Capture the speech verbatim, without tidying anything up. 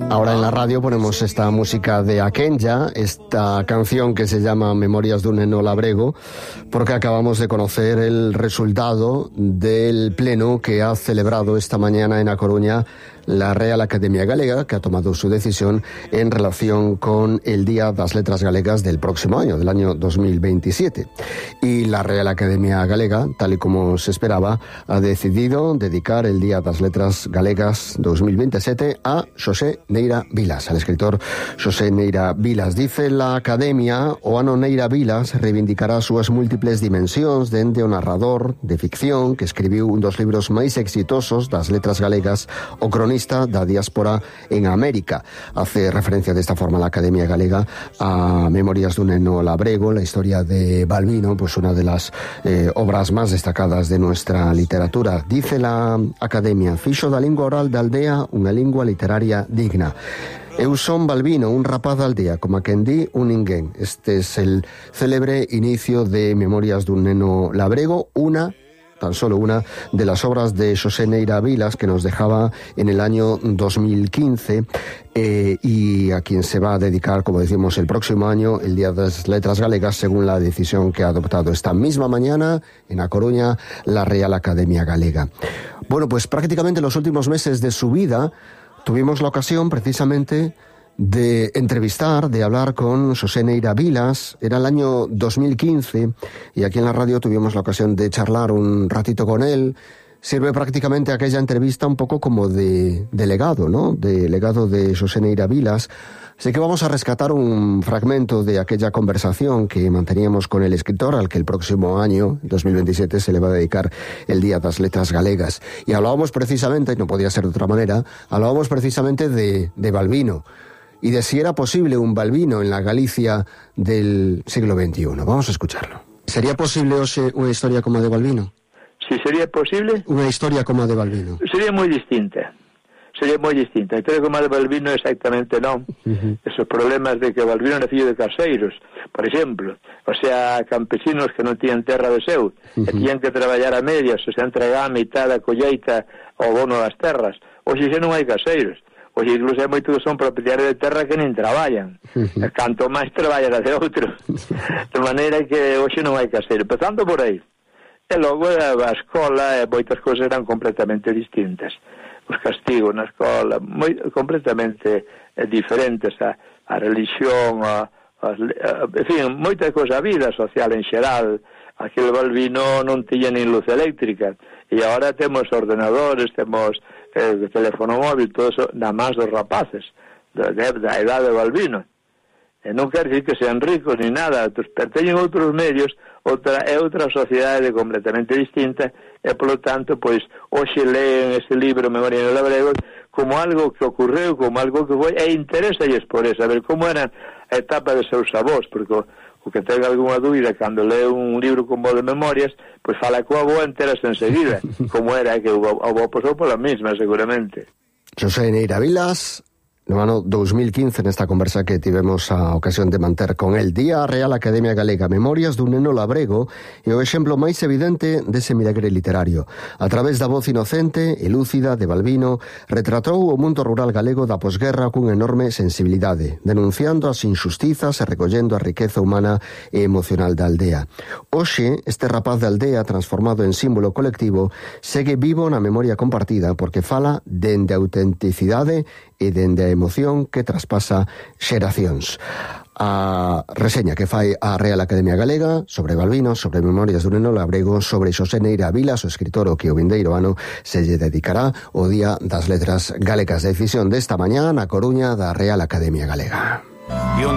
Ahora en la radio ponemos esta música de Aquenya, esta canción que se llama Memorias d'un neno labrego, porque acabamos de conocer el resultado del pleno que ha celebrado esta mañana en A Coruña la Real Academia Galega, que ha tomado su decisión en relación con el Día das Letras Galegas del próximo año, del año dos mil veintisiete. Y la Real Academia Galega, tal y como se esperaba, ha decidido dedicar el Día das Letras Galegas dos mil veintisiete a Xosé Neira Vilas, al escritor Xosé Neira Vilas. Dice la Academia, o ano Neira Vilas reivindicará súas múltiples dimensións dende o narrador de ficción que escribiu un dos libros máis exitosos das letras galegas, o cronista da diáspora en América. Hace referencia de esta forma la Academia Galega a Memorias d'un neno labrego, la historia de Balbino, pues una de las eh, obras más destacadas de nuestra literatura. Dice la Academia: fixo da lingua oral da aldea unha lingua literaria digna. Eu son Balbino, un rapaz da aldea, como a quen di un ninguén. Este es el célebre inicio de Memorias d'un neno labrego, una tan solo una de las obras de Xosé Neira Vilas, que nos dejaba en el año dos mil quince, eh, y a quien se va a dedicar, como decimos, el próximo año, el Día de las Letras Galegas, según la decisión que ha adoptado esta misma mañana en A Coruña la Real Academia Galega. Bueno, pues prácticamente los últimos meses de su vida tuvimos la ocasión precisamente de entrevistar, de hablar con Xosé Neira Vilas. Era el año dos mil quince y aquí en la radio tuvimos la ocasión de charlar un ratito con él. Sirve prácticamente aquella entrevista un poco como de, de legado, ¿no? De legado de Xosé Neira Vilas. Así que vamos a rescatar un fragmento de aquella conversación que manteníamos con el escritor, al que el próximo año, dos mil veintisiete, se le va a dedicar el Día das Letras Galegas. Y hablábamos precisamente, y no podía ser de otra manera, hablábamos precisamente de, de Balbino, y de si era posible un Balbino en la Galicia del siglo veintiuno. Vamos a escucharlo. ¿Sería posible, Ose, una historia como a de Balbino? Si sería posible? Una historia como a de Balbino. Sería moi distinta. Sería moi distinta. A historia como a de Balbino exactamente non. Uh-huh. Esos problemas de que Balbino era fillo de caseiros, por exemplo. O sea, campesinos que non tiñan terra de seu, uh-huh. e tiñan que traballar a medias, o sea, entregar a mitad da colleita ao bono das terras. Hoxe xa non hai caseiros. Pois incluso hai moitos que son propietarios de terra que nin traballan. Uh-huh. Canto máis traballan a de outros. De maneira que hoxe non hai caseiro. Empezando por aí. E logo a escola e moitas cousas eran completamente distintas. Os castigos na escola, moi, completamente eh, diferentes. A, a religión, a, a, a, en fin, moitas cousas, a vida social en xeral. Aquel Balbino non tiña nin luz eléctrica. E agora temos ordenadores, temos eh, teléfono móvil, todo eso, nada máis dos rapaces da, da edade de Balbino. E non quer decir que sean ricos ni nada, teñen outros medios, outra, é outra sociedade completamente distinta, e polo tanto, pois, hoxe leen ese libro Memorias d'un neno labrego como algo que ocorreu, como algo que foi, e interésalles por eso, saber como era a etapa de seus avós, porque o, o que ten algunha dúbida cando lee un libro como o de Memorias, pois fala coa avó enteras enseguida, como era que o avó pasou pola mesma, seguramente. Xosé Neira Vilas, no ano dos mil quince, nesta conversa que tivemos a ocasión de manter con el Día Real Academia Galega, Memorias d'un neno labrego, e o exemplo máis evidente dese milagre literario. A través da voz inocente e lúcida de Balbino, retratou o mundo rural galego da posguerra cunha enorme sensibilidade, denunciando as injustizas e recollendo a riqueza humana e emocional da aldea. Hoxe, este rapaz da aldea, transformado en símbolo colectivo, segue vivo na memoria compartida porque fala dende a autenticidade e dende a emoción que traspasa xeracións. A reseña que fai a Real Academia Galega sobre Balbino, sobre Memorias d'un neno labrego, sobre Xosé Neira Vilas, o escritor o que o vindeiro ano se lle dedicará o Día das Letras Galegas. Decisión desta mañá na Coruña da Real Academia Galega.